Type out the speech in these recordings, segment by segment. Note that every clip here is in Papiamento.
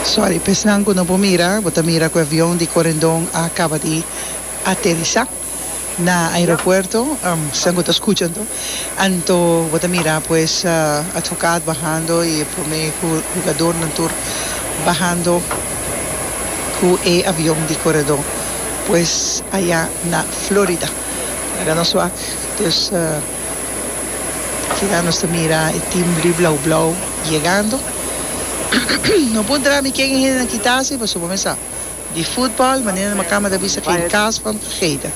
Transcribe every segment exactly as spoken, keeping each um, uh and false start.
Sorry, p'esnan ku no por mira, bo ta mira ku e avion di Corendon a kaba di aterisa na aeropuerto, esnan ku ta skucha anto. Anto bo ta mira pues advocaat bahando i e prome hugadornan tur bahando ku e avion di Corendon pues aya na Florida. Laga nos wak dus keda nos ta mira e team blue blauw blauw yegando. No puntra mi ken e hendenan kita si pasobra bo mesa di futbal manera na kama ta bisa geen kaas van gegeten.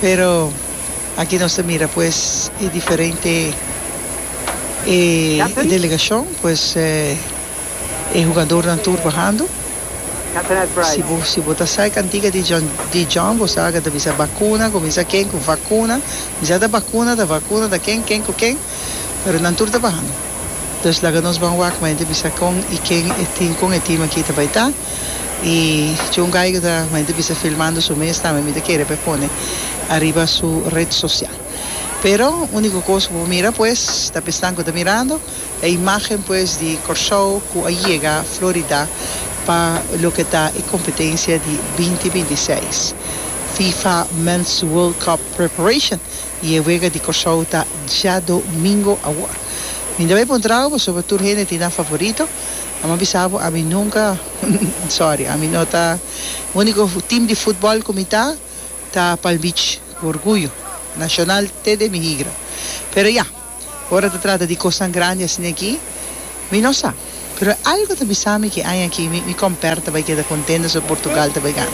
Pero aki nos ta mira pues e diferente e delegashon pues e hugadornan tur bahando. Si bo si bo ta sa e kantika di John di John bo sa ku ta bisa bakuna kuminsá ken ku vakuna misa ta bakuna ta vakuna ta ken ken ku ken pero nan tur ta bahando. Dus laga nos ban wak ma e ta bisa kon i ken e tin kon e team aki ta bai ta i John Geiger ta ma e ta bisa filmando su mes tambe mi ta kere pa e pone ariba su red social. Pero uniko kos ku bo mira pues ta p'esnan ku ta mirando e imagen pues di Kòrsou ku a yega Florida pa loke ta e kompetensia di binti binti seis FIFA Men's World Cup Preparation i e wega di Kòrsou ta djadomingo awor. Mi ta bai puntra bo pasobra tur hende tin nan favorito. Amo a bisa bo ami nunca, sorry, ami no ta, unico team di futbol cu mi ta, ta Palm Beach, cu orguyo nacional te den mi higra. Pero ya, ora ta trata di cosnan grandi asina aki, mi no sa. Pero algo ta bisa mi ki aña aki mi mi comper ta bai keda contento so Portugal ta bai gana.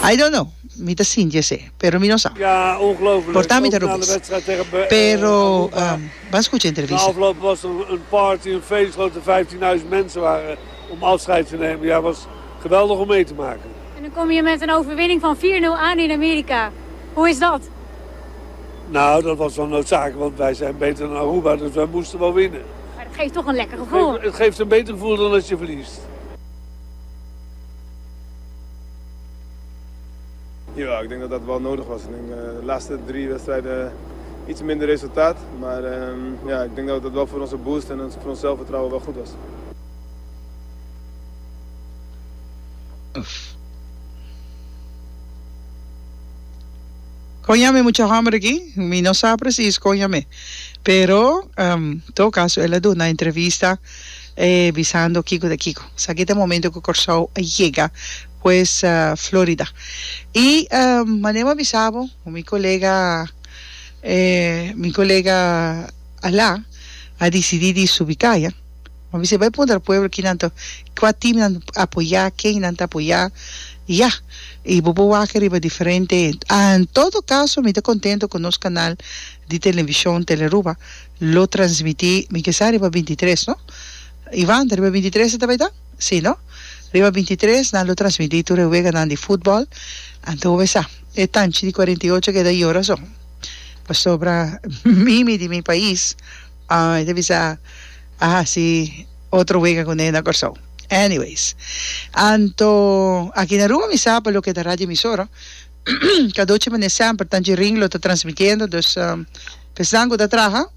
I don't know, mi ta sinti esey, pero mi no sa. Ja, ongelooflijk. Por ta mi ta Ook na de robes. wedstrijd tegen Be- eh, Pero, Aruba. um, ban scucha Na entrevista. afloop was er een party, een feest, grote vijftienduizend mensen waren om afscheid te nemen. Ja, was geweldig om mee te maken. En dan kom je met een overwinning van vier nul aan in Amerika. Hoe is dat? Nou, dat was wel noodzakelijk, want wij zijn beter dan Aruba, dus wij moesten wel winnen. Maar dat geeft toch een lekker Het gevoel. geeft, het geeft een beter gevoel dan als je verliest. Ja, ik denk dat dat wel nodig was. Ik denk, eh, de laatste drie wedstrijden iets minder resultaat. Maar, ehm, ja, ik denk dat dat wel voor onze boost en voor ons zelfvertrouwen wel goed was. Kon yam'e mucha homber aki? Mi no sa precies kon yam'e. Pero, en todo caso, el a duna entrevista, eh, bisando kiko ta kiko. Esaki ta e momento ku Kòrsou a yega, pues, Florida. I, manera mi a bisa bo, mi kolega, eh, mi kolega Alá a disidí di subi kaya. Mi a bisa, bai puntra pueblo kinan ta, kua team nan apoyá, ken nan ta apoyá, i ya. I bo por wak riba diferente. En todo caso mi ta contento cu nos canal di television Telearuba lo transmiti, mi ke sa riba bintitres no? Ivan, ta riba bintitres e ta bay ta? Si no? Riba bintitres nan lo transmiti tur e weganan di futbol, anto bo bay sa e tanchi di cuarenta y ocho keda yora so, pasobra mimi di mi pais e ta bisa a haci otro wega cu ne na Corsou. Anyways, anto aki na Aruba mi sa pa loke ta radio emisora, Cadochi mane semper Tanchi Ring lo ta transmitiendo, dus pesnan cu ta traha,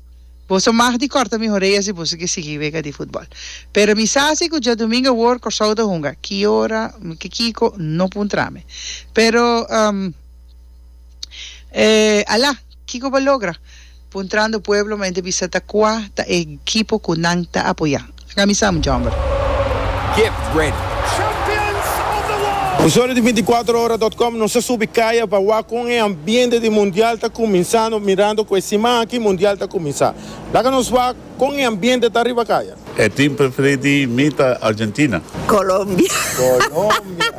boso mag di corta mi horea si boso ke sigui wega di futbol. Pero mi sa si cu djadomingo awor Corsou ta hunga, ki ora, ki kiko, no puntra mi. Pero, eh, ala, kiko bo logra? Puntrando pueblo ma hende bisa ta cua ta e ekipo cu nan ta apoya. Laga mi sa mucha homber. Get ready. Usuario di binticuatro ora dot com nos a subi caya pa wak con e ambiente di mundial ta cuminsando, mirando cu e siman aki mundial ta cuminsa. Laga nos wak con e ambiente ta riba caya. E team preferi di mi ta Argentina. Colombia. Colombia.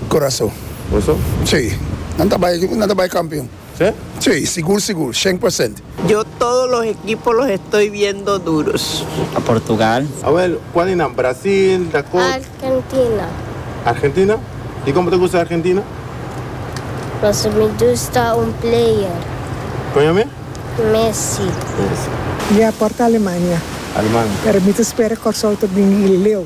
Corazon. Corazon? Si. Nan ta bai, nan ta bai campeon. Si? Si, sigur, sigur, shen por cent. Yo todos los equipos los estoy viendo duros. A Portugal. Awel, cual di nan? Brasil, Dakota? Argentina. Argentina? Y como te gusta Argentina? Paso mi gusta un player. Con yami? Messi. Messi. Ya, por ta Alemania. Alemania. Pero mi ta spera Corsou ta bin leu.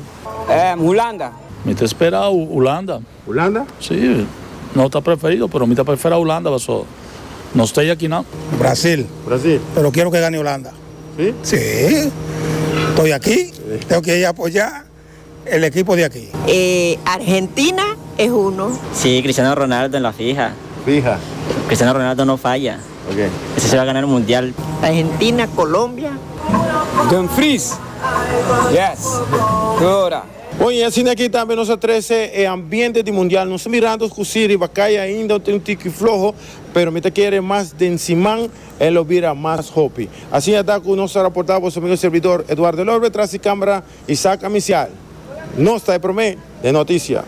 Eh, Hulanda. Mi ta spera Hulanda. Hulanda? Si, no ta preferido, pero mi ta prefera Hulanda paso no estoy aki nan. Brasil. Brasil. Pero quiero que gane Holanda. Si? Si. Estoy aquí, tengo que ir a apoyar. El equipo de aquí. Eh, Argentina es uno. Sí, Cristiano Ronaldo en la fija. Fija. Cristiano Ronaldo no falla. Ok. Ese se va a ganar el mundial. Argentina, Colombia. Dumfries. Yes. Ora. Oye, asina aki tambe nos a trese e ambiente di mundial. Nos mirando ku riba kaya ainda tin un tiki floho, pero mi ta kere mas den siman e lo bira mas hopi. Asina ta ku nos a raportá su amigu servidor Eduardo Lorbe, tras di kámara Isaac Amicial. Nos ta promé den notisia.